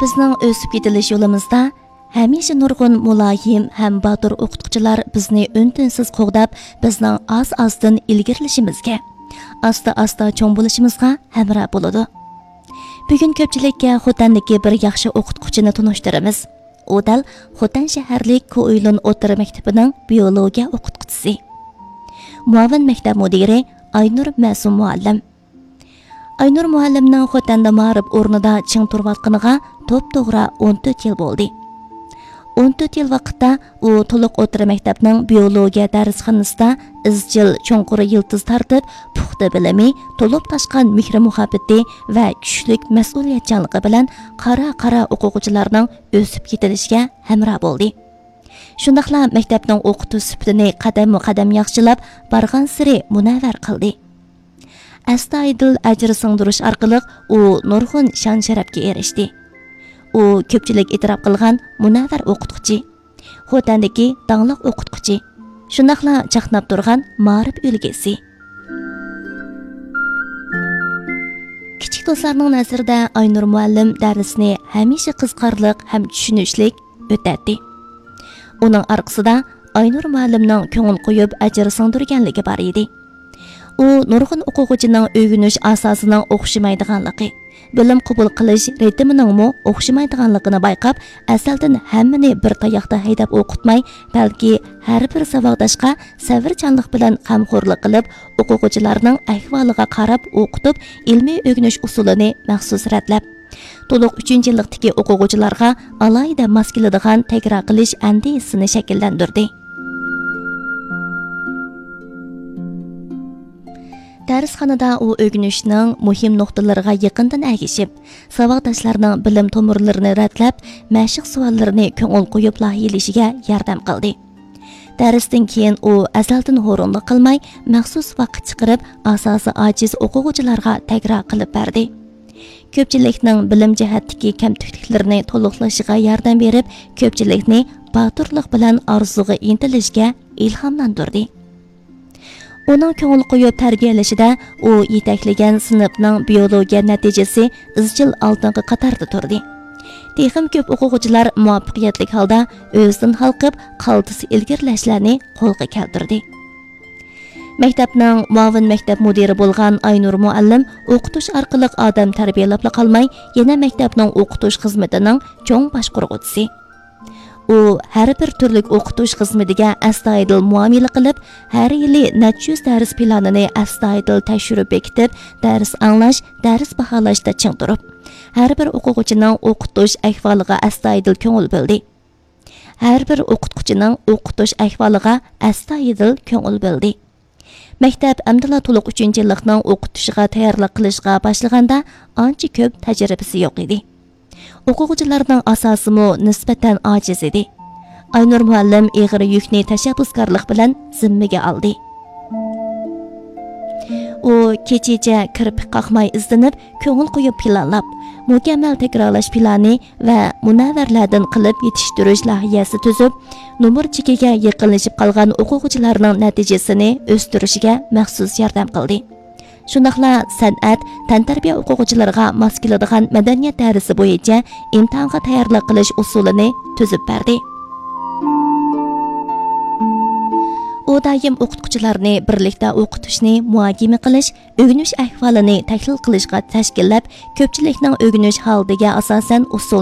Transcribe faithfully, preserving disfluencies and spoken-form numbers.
بىزنىڭ ئۆسۈپ يېتىلىش يولىمىزدا ھەمىشە نۇرغۇن مۇلايىم ھەم باتۇر ئوقۇتقۇچىلار بىزنى ئۈن-تىنسىز قوغداپ، بىزنىڭ ئاز-ئازدىن ئىلگىرىلىشىمىزگە، ئاستا-ئاستا چوڭ بولۇشىمىزغا ھەمراھ بولىدۇ. بۈگۈن كۆپچىلىككە خوتەندىكى بىر ياخشى ئوقۇتقۇچىنى تونۇشتۇرىمىز. ئۇ دەل خوتەن شەھەرلىك كوئۇيلۇن ئوتتۇرا مەكتىپىنىڭ بىيولوگىيە ئوقۇتقۇچىسى، مۇئاۋىن مەكتەپ مۇدىرى ئاينۇر مەسۇم مۇئەللىم. ئاينۇر مۇئەللىمنىڭ خوتەندە مائارىپ ئورنىدا چىڭ تۇرۇۋاتقىنىغا توپتوغرا ئون تۆت يىل بولدى. ئون تۆت يىل ۋاقىتتا ئۇ تولۇق ئوتتۇرا مەكتەپنىڭ بىيولوگىيە دەرسخانىسىدا ئىزچىل چوڭقۇر يىلتىز تارتىپ، پۇختا بىلىمى، تولۇپ تاشقان مېھرى-مۇھەببىتى ۋە كۈچلۈك مەسئۇلىيەتچانلىقى بىلەن قارا-قارا ئوقۇغۇچىلارنىڭ ئۆسۈپ يېتىلىشىگە ھەمراھ بولدى. شۇنداقلا مەكتەپنىڭ ئوقۇتۇش سۈپىتىنى قەدەممۇ قەدەم ياخشىلاپ، بارغانسېرى مۇنەۋۋەر قىلدى. ئەستايىدىل ئەجىر سىڭدۈرۈش ئارقىلىق ئۇ نۇرغۇن شان-شەرەپكە ئېرىشتى. ئۇ كۆپچىلىك ئېتىراپ قىلغان مۇنەۋۋەر ئوقۇتقۇچى، خوتەندىكى داڭلىق ئوقۇتقۇچى، شۇنداقلا چاقناپ تۇرغان مائارىپ ئۈلگىسى. كىچىك دوستلارنىڭ نەزىرىدە ئاينۇر مۇئەللىم دەرسنى ھەمىشە قىزىقارلىق ھەم چۈشىنىشلىك ئۆتەتتى. ئۇنىڭ ئارقىسىدا ئاينۇر مۇئەللىمنىڭ كۆڭۈل قويۇپ ئەجىر سىڭدۈرگەنلىكى بار ئىدى. ئۇ نۇرغۇن ئوقۇغۇچىنىڭ ئۆگىنىش ئاساسىنىڭ ئوخشىمايدىغانلىقى، بىلىم قوبۇل قىلىش رىتىمىنىڭمۇ ئوخشىمايدىغانلىقىنى بايقاپ، ئەزەلدىن ھەممىنى بىر تاياقتا ھەيدەپ ئوقۇتماي، بەلكى ھەر بىر ساۋاقداشقا سەۋرچانلىق بىلەن غەمخورلۇق قىلىپ، ئوقۇغۇچىلارنىڭ ئەھۋالىغا قاراپ ئوقۇتۇپ، ئىلمىي ئۆگىنىش ئۇسۇلىنى مەخسۇس رەتلەپ، تولۇق ئۈچىنچى يىللىقتىكى ئوقۇغۇچىلارغا ئالاھىدە ماس كېلىدىغان تەكرار قىلىش ئەندىزىسىنى شەكىللەندۈردى. دەرسخانىدا ئۇ ئۆگىنىشنىڭ مۇھىم نۇقتىلىرىغا يېقىندىن ئەگىشىپ، ساۋاقداشلارنىڭ بىلىم تومۇرلىرىنى رەتلەپ، مەشىق سوئاللىرىنى كۆڭۈل قويۇپ لايىھىلىشىگە ياردەم قىلدى. دەرستىن كېيىن ئۇ ئەزەلدىن ھۇرۇنلۇق قىلماي، مەخسۇس ۋاقىت چىقىرىپ، ئاساسى ئاجىز ئوقۇغۇچىلارغا تەكرار قىلىپ بەردى. كۆپچىلىكنىڭ بىلىم جەھەتتىكى كەمتۈكلۈكلىرىنى تولۇقلىشىغا ياردەم بېرىپ، كۆپچىلىكنى باتۇرلۇق بىلەن ئارزۇغا ئىنتىلىشكە ئىلھاملاندۇردى. ئۇنىڭ كۆڭۈل قويۇپ تەربىيەلىشىدە ئۇ يېتەكلىگەن سىنىپنىڭ بىيولوگىيە نەتىجىسى ئىزچىل ئالدىنقى قاتاردا تۇردى. تېخىمۇ كۆپ ئوقۇغۇچىلار مۇۋەپپەقىيەتلىك ھالدا ئۆزىدىن ھالقىپ، قالتىس ئىلگىرىلەشلەرنى قولغا كەلتۈردى. مەكتەپنىڭ مۇئاۋىن مەكتەپ مۇدىرى بولغان ئاينۇر مۇئەللىم ئوقۇتۇش ئارقىلىق ئادەم تەربىيەلەپلا قالماي، يەنە مەكتەپنىڭ ئوقۇتۇش خىزمىتىنىڭ چوڭ باشقۇرغۇچىسى. ئۇ ھەر بىر تۈرلۈك ئوقۇتۇش خىزمىتىگە ئەستايىدىل مۇئامىلە قىلىپ، ھەر يىلى نەچچە يۈز دەرس پىلانىنى ئەستايىدىل تەكشۈرۈپ بېكىتىپ، دەرس ئاڭلاش، دەرس باھالاشتا چىڭ تۇرۇپ، ھەر بىر ئوقۇغۇچىنىڭ ئوقۇتۇش ئەھۋالىغا ئەستايىدىل كۆڭۈل بۆلدى. ھەر بىر ئوقۇتقۇچىنىڭ ئوقۇتۇش ئەھۋالىغا ئەستايىدىل كۆڭۈل بۆلدى. مەكتەپ ئەمدىلا تولۇق ئۈچىنچى يىللىقنىڭ ئوقۇتۇشىغا تەييارلىق قىلىشقا باشلىغاندا ئانچە كۆپ تەجرىبىسى يوق ئىدى. ئوقۇغۇچىلارنىڭ ئاساسىمۇ نىسبەتەن ئاجىز ئىدى. ئاينۇر مۇئەللىم ئېغىر يۈكنى تەشەببۇسكارلىق بىلەن زىممىگە ئالدى. ئۇ كېچىچە كىرپىك قاقماي ئىزدىنىپ، كۆڭۈل قويۇپ پىلانلاپ، مۇكەممەل تەكرارلاش پىلانى ۋە مۇنەۋۋەرلەردىن قىلىپ يېتىشتۈرۈش لايىھەسى تۈزۈپ، نومۇر چېكىگە يېقىنلىشىپ قالغان ئوقۇغۇچىلارنىڭ نەتىجىسىنى ئۆستۈرۈشىگە مەخسۇس ياردەم قىلدى. شۇنداقلا سەنئەت، تەنتەربىيە ئوقۇغۇچىلىرىغا ماس كېلىدىغان مەدەنىيەت دەرسى بويىچە ئىمتىھانغا تەييارلىق قىلىش ئۇسۇلىنى تۈزۈپ بەردى. ئۇ دائىم ئوقۇتقۇچىلارنى بىرلىكتە ئوقۇتۇشنى مۇھاكىمە قىلىش، ئۆگىنىش ئەھۋالىنى تەھلىل قىلىشقا تەشكىللەپ، كۆپچىلىكنىڭ ئۆگىنىش ھالىتىگە ئاساسەن ئۇسۇل